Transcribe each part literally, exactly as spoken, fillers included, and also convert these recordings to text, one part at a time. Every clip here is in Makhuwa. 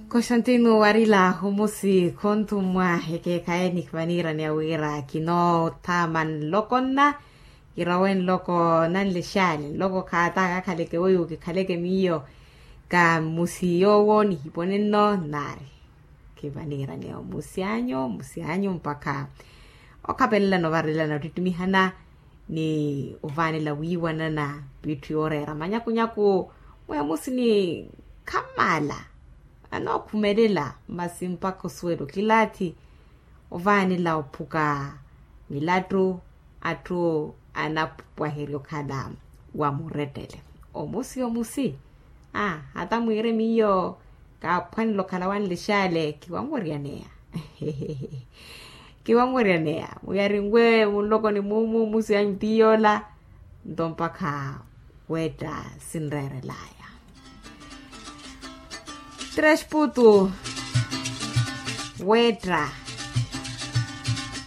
Constantino warila omusi khonthumwa ekeekhaye ni vaniiraneya wira kinoothaama nloko nna, kirawe nloko nanlexaale nloko khaata kakhaleke weiwo kikhaleke miyo. Ka mmusi yoowo nihipone nno nnaari, kivaniiraneya omusi anyu omusi anyu mpakha okhapelela novarelana ottittimiha na ni ovaanela wiiwanana. Piitthu yooreera manyakunyaku mweya musini khammaala anookhumelela masi mpakha osuwela okilaathi ovaanela ophuka milattu atthu anapwaherya okhala wa murettele omusi omusi. Aa hata mwiire miyo kaaphwanela okhala wanlexaale kiwanweryaneya. Kiwanweryaneya muyarinwe munlokoni mumu musi anyu tiyoola nto mpakha weetta sinreerelaya. Tresputu weetta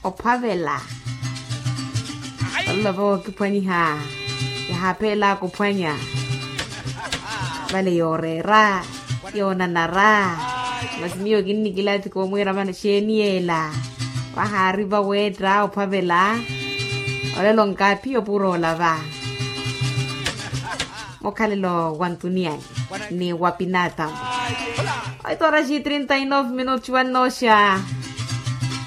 ophwavela. Olova wookiphwanyiha yahaaphela kuphwanya vale yooreera yoonanara. Masi miyo kinnikilathi koomwiira vano xeeni yeela vahaariva weetta ophwavela. Olelo nkaaphiyo puro olava mukhalelo wa ntuniyani ni wa pinatamu. Oito horas e trinta e nove minutos wannooxa.